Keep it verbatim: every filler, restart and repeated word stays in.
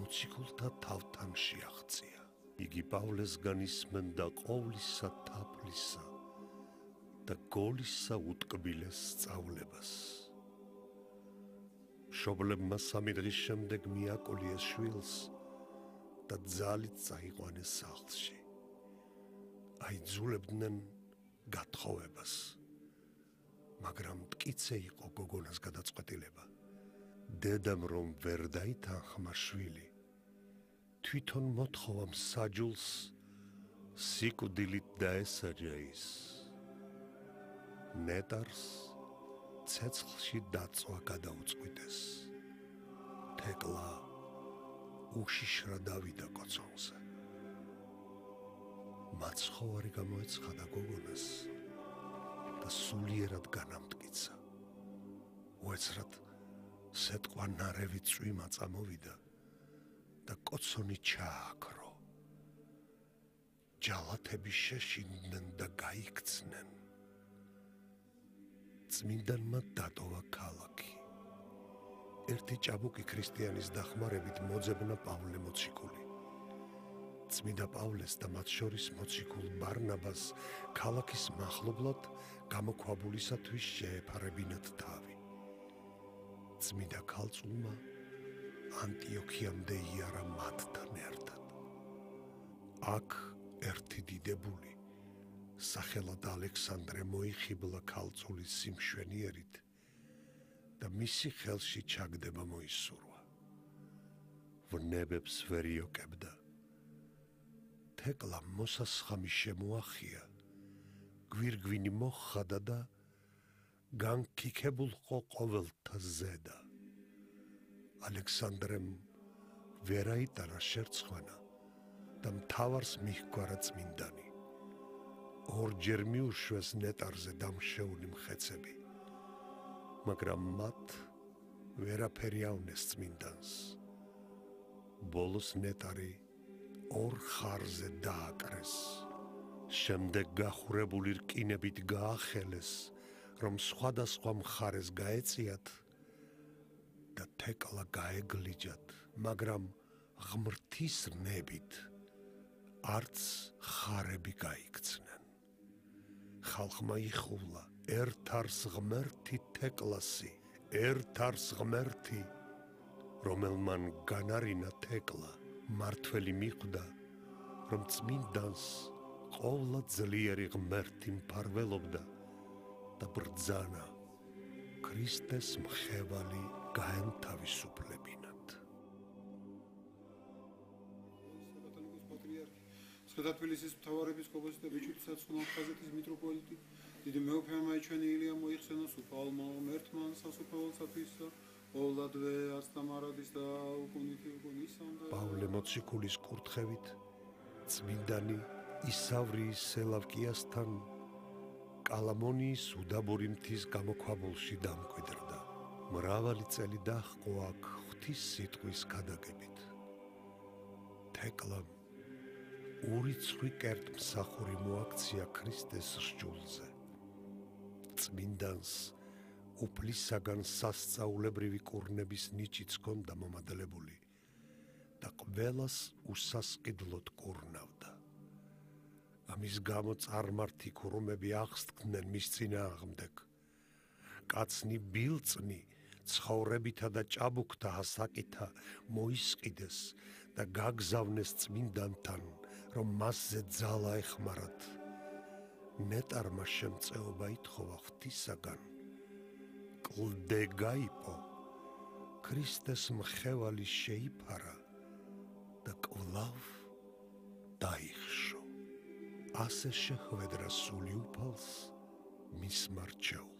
მოციქულთა თავთან შეაღწია. იგი პავლესგან ისმენდა ყოვლისა თაფლისა და გოლისა უტკბილეს სწავლებას. მშობლებმა სამი დღის შემდეგ მიაკოლიეს შვილს და ძალით წაიყვანეს სახლში. აიძულებდნენ გათხოვებას, მაგრამ მტკიცე იყო გოგონას გადაწყვეტილება. დედამ რომ ვერ დაითანხმა შვილი, თვითონ მოთხოვა მსაჯულს სიკვდილით დაესაჯა ის. ნეტარს ცეცხლში დაწვა გადაუწყვიტეს. თეკლა უშიშრა დავიდა კოცონზე. მაცხოვარი გამოეცხადა გოგონას და სულიერად განამტკიცა. უეცრად სეტყვა ნარევი წვიმა წამოვიდა და კოცონი ჩააქრო. ჯალათები შეშინდნენ და გაიქცნენ. წმინდანმა დატოვა ქალაქი. ერთი ჭაბუკი ქრისტიანის დახმარებით მოძებნა პავლე მოციქული. წმინდა პავლეს და მათ შორის მოციქულ ბარნაბას ქალაქის მახლობლად გამოქვაბულისათვის შეეფარებინათ თავი. წმინდა ქალწულმა ანტიოქიამდე იარა მათთან ერთად. აქ ერთი დიდებული, სახელად ალექსანდრე მოიხიბლა ქალწულის სიმშვენიერით და მისი ხელში ჩაგდება მოისურვა. ვნებებს ვერ იოკებდა. თეკლამ მოსასხამი შემოახია, გვირგვინი მოხადა და განქიქებულყო ყოველთა ზედა. ალექსანდრემ ვერ აიტანა შერცხვენა და მთავარს მიჰგვარა წმინდანი. ორჯერ მიუშვეს ნეტარზე დამშეული მხეცები, მაგრამ მათ ვერაფერი ავნეს წმინდანს. ბოლოს ნეტარი ორ ხარზე დააკრეს. შემდეგ გახურებული რკინებით გაახელეს, რომ სხვადასხვა მხარეს გაეწიათ და თეკლა გაეგლიჯათ, მაგრამ ღმრთის ნებით არც ხარები გაიქცნენ. ხალხმა იხულა, ერთ არს ღმერთი თეკლასი, ერთ არს ღმერთი, რომელმან განარინა თეკლა, მართველი მიხვდა, რომ წმინდანს ყოვლა ძლიერი ღმერთი მფარველობდა და ბრძანა ქრისტეს მხევალი გაენთავისუფლებინათ. სვეტათბილისის მთავარეპისკოპოსი და ბიჭვინთის ხაზეთის მიტროპოლიტი დიდი მეუფემა იჩვენი ილია მოიხსენოს უფალმა ღმერთმა სასუფეველსათვის ყოვლადვე ასტამარადის და უკუნითი უკუნისამდე. პავლე მოციქულის კურთხევით წმინდანი ისავრიის სელავკიასთან კალამონიის უდაბური მთის გამოქვაბულში დამკვიდრდა. მრავალი წელი დაჰყო აქ ღვთის სიტყვის გადაგებით. თეკლამ ურიცხვი კერტმსახური მოაქცია ქრისტეს სჯულზე. წმინდანს უფლისაგან სასწაულებრივი კურნების ნიჭიც ჰქონდა მომადლებული და ყველას უსასყიდლოდ კურნავდა. ამის გამო წარმართი ქურუმები აღსდგნენ მის წინააღმდეგ. კაცნი ბილწნი ცხოვრებითა და ჭაბუკთა ასაკითა მოისყიდეს და გაგზავნეს წმინდანთან, რომ მასზე ძალა ეხმარათ. ნეტარმა შემწეობა ითხოვა ღვთისაგან. კლდე გაიპო, ქრისტეს მხევალი შეიფარა და კვლავ დაიხშო. ასე შეხვედრა სული უფალს მის მარჩეულ.